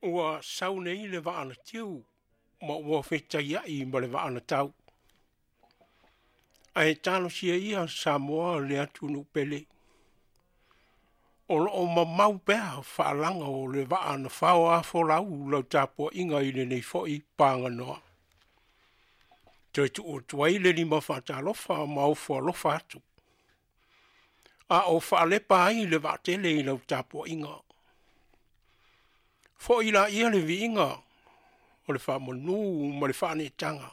Ua sau nei le vaa na tiu ma ua fetaiai ma le vaa na tau. Ae talosia ia Samoa le atunuu pele. O lo o mamau pea faalaga o le vaa na faoafolau lau tapuaiga i lenei foi paganoa. Toe tuu atu ai le lima faatalofa ma ofo alofa atu, a o faalepa ai le vaatele i lau tapuaiga. Foi laia le viiga o le faamanu ma le faaneetaga,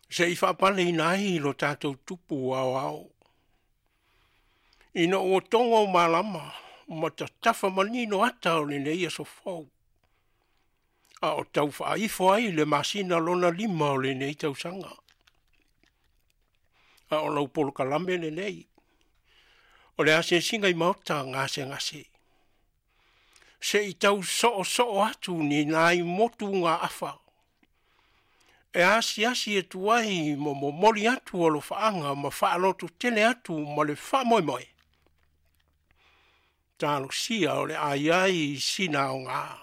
se i faapaleina ai lo tatou Tupu Aoao. Ina ua togo malama ma tatafa manino ata o lenei aso fou, a o tau faaifo ai le masina lona 5 o lenei tausaga. A o lau polokalame lenei, o le asiasiga i maota gasegase, se i tau soosoo atu ni nai motugaafa, e asiasi atu ai ma momoli atu alofaaga ma faalototele atu ma le faamoemoe, talosia o le a i ai sina aoga,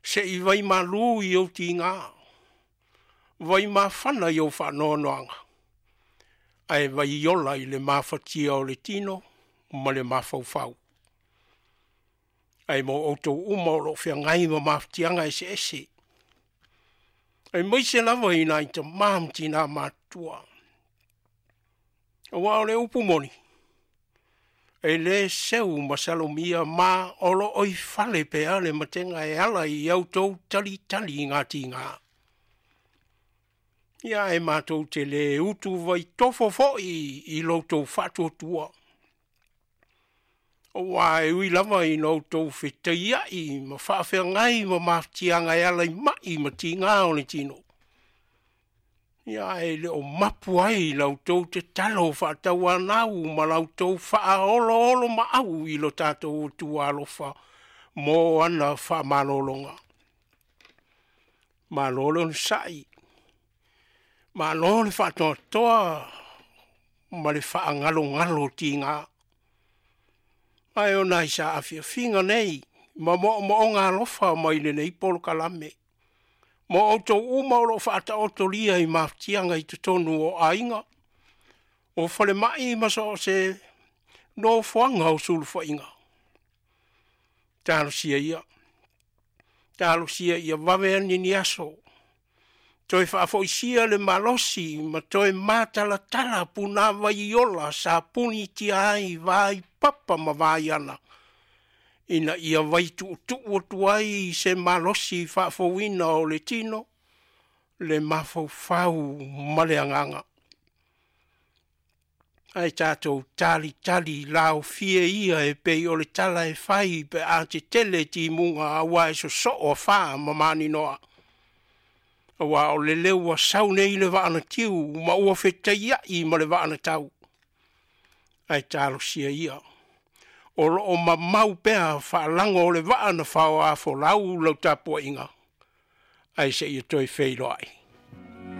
se i vaimalu i ou tiga, vaimafana i ou faanoanoaga, ae vaiola i le mafatia o le tino ma le mafaufau. Ae mo outou uma o lo o feagai ma mafatiaga eseese, aemaise lava i nai tama ma tina matutua. Aua o le upu moni, e le seu masalomia ma o lo o i fale pea le matega e ala i au tou talitali gatiga. Ia e matou te le utuvaitofo foi i lo outou faatuatua, aua e ui lava ina outou fetaiai ma faafeagai ma mafatiaga e ala i mai ma tiga o le tino, ia e le o mapu ai la outou tatalo faatauanau ma la outou faaoloolomaau i lo tatou Atua alofa mo ana faamalologa. Malo le onosai, malo le faatoatoa ma le faagalogalo tiga. Ae o nai saafiafiga nei ma moomooga alofa mai lenei polokalame mo outou uma o lo o faataotolia i mafatiaga i totonu o aiga, o falemai ma so o se nofoaga o sulufaiga. Talosia ia, talosia ia vave ane ni aso, toe faafoisia le malosi ma toe matalatala punavai ola sa punitia ai vaipapa ma vaiala, ina ia vaituutuu atu ai se malosi faafouina o le tino, le mafaufau ma le agaga. Ae tatou talitali laofie ia e pei o le tala e fai pe a tetele timuga aua e sosoo afa ma maninoa. Aua o lele ua sau nei le vaa na tiu ma ua fetaiai ma le vaa na tau. Ae talosia ia, o lo o mamau pea faalago o le vaa na faoafolau lau tapuaiga, ae seia toe feiloai.